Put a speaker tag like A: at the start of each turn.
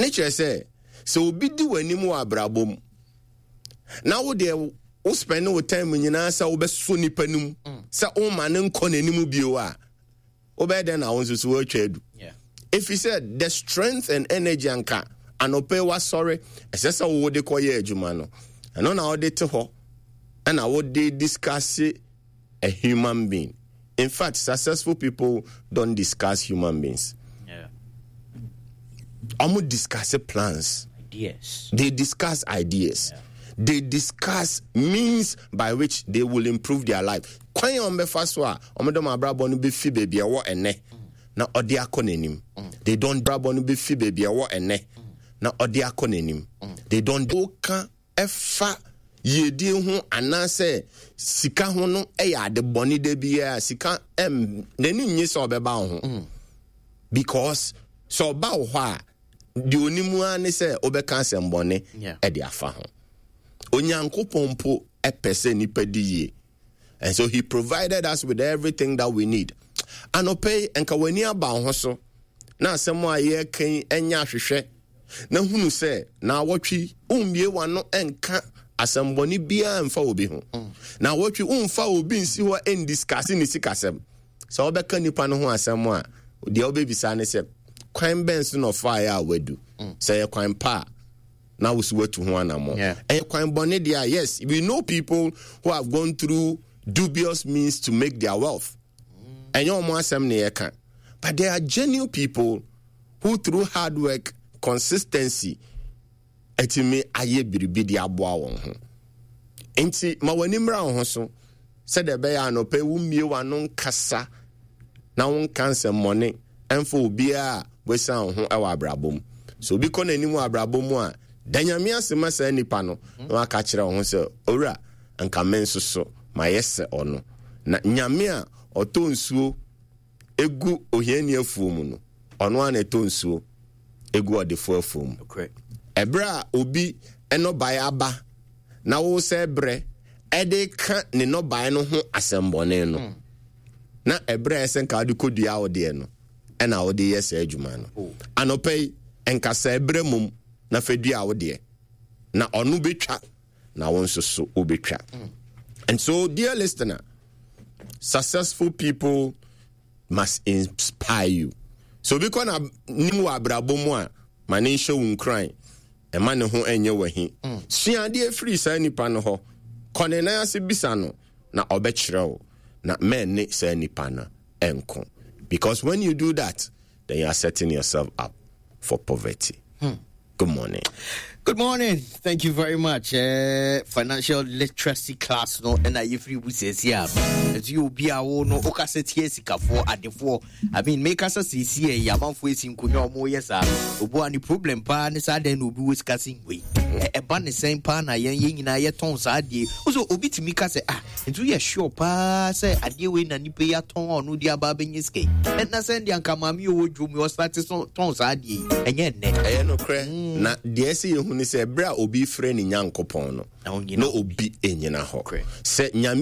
A: Ne kyerɛ sɛ, sɛ obi di w'anim wɔ abrabɔ mu na wo deɛ wo spend wo time nyinaa sɛ wobɛsɔ nipa no mu sɛ woma no nkɔ n'anim bio a, wobɛyɛ dɛn na wo nso so woatwa adu? Ɛfiri sɛ the strength and energy anka anɔpɛ wasɔre ɛsɛ sɛ wode kɔyɛ adwuma no, ɛno na wode te hɔ ɛna wode discuss a human being. In fact, successful people don't discuss human beings. Ɔmo discuss plans.
B: Ideas.
A: They discuss ideas. They discuss means by which they will improve their life. Kwan a wɔbɛfa so a wɔde wɔn abrabɔ no bɛfi baabi a ɛwɔ ɛnɛ na ɔde akɔ n'anim. They don't abrabɔ no bɛfi baabi a ɛwɔ ɛnɛ na ɔde akɔ n'anim. They don't woka ɛfa yiedie ho anaasɛ sika ho no yɛ ade bɔne da biara. Sika ɛm n'ani nnye sɛ ɔbɛba wo ho because sɛ ɔba wo hɔ a, deɛ onim ara ne sɛ wobɛka asɛmbɔne ɛde afa ho. Onyankopɔn mpo ɛpɛ sɛ nipa di yie, and so he provided us with everything that we need. Anɔpɛ yi, nka w'ani aba wo ho so na asɛm a yɛreka yi ɛnyɛ ahwehwɛ na hunu sɛ na awɔtwe wommie w'ano nka asɛmbɔne biara mfa obi ho, na awɔtwe womfa obi nsi hɔ ndiskase ne sikasɛm. Sɛ wobɛka nipa no ho asɛm a, deɛ wobɛbisa ne sɛ, kwan bɛn so na ɔfaeɛ a wadu? Sɛ yɛ kwan pa a, na wo so watu ho anammɔ. Ɛyɛ kwan bɔne deɛ a, yes, we know people who have gone through dubious means to make their wealth. Ɛnyɛ wɔn asɛm ne yɛka, but there are genuine people who through hard work, consistency, atumi ayɛ biribi de aboa wɔn ho. Nti ma w'ani mmra wo ho so sɛdeɛ ɛbɛyɛ anɔpɛ wommie w'ano nkasa na wonka nsɛmmɔne ɛmfa obiara a wasiane wo ho wɔ abrabɔ mu. Sɛ obi kɔ n'anim wɔ abrabɔ mu a, da Nyame ase ma saa nipa no na waka kyerɛ wo ho sɛ, owura, nka me nso so mayɛ sɛ ɔno. Na Nyame a ɔtɔ nsuo egu ohiani afuo mu no, ɔno ara na ɛtɔ nsuo egu ɔdefoɔ afuo mu. Ɛberɛ a obi nnɔbaeɛ aba na wosɛ berɛ ɛde ka ne nnɔbaeɛ no ho asɛmbɔne no, na ɛberɛ a ɛsɛ nka wode kɔdua wo deɛ no ɛna wode yɛ saa adwuma no. Anɔpa yi, nka sɛ ɛberɛ mom na fa dua wo deɛ, na ɔno bɛtwa na wo nso so wobɛtwa. And so, dear listener, successful people must inspire you. So obi kɔ na nim wɔ abrabɔ mu a, ma ne nhyɛ wo nkuran, ɛma ne ho ɛnyɛ wahi. Sua adeɛ firi saa nipa no hɔ, kɔ ne nan ase bisa no na ɔbɛkyerɛ wo, na mɛnne saa nipa no ɛnko. Because when you do that, then you are setting yourself up for poverty. Good morning.
B: Good morning. Thank you very much. Financial literacy class no and I free business here. As you be a no okasa tie sikafoɔ adefoɔ. I mean make us see see ya manfo esi nkonya omo yes ah. Obu ani problem pa ne saa den obi wo sika sin wei. Ɛba ne sɛn paa na yɛn yɛn nyinaa yɛtɔn saa adeɛ. Wo obi tumi ka sɛ, ah, nti woyɛ sure paa sɛ adeɛ wei na nipa yi atɔn a ɔno de aba abɛnya sika yi? Ɛna sɛ deɛ anka maame yi ɔwɔ dwom yi ɔsate so tɔn saa adeɛ yi, ɛnyɛ nnɛ.
A: Ɛyɛ nokorɛ. Na deɛ ɛsɛ yɛhu ne sɛ, berɛ a obi frɛ ne Nyankopɔn no, na obi nnyina hɔ. Sɛ Nyame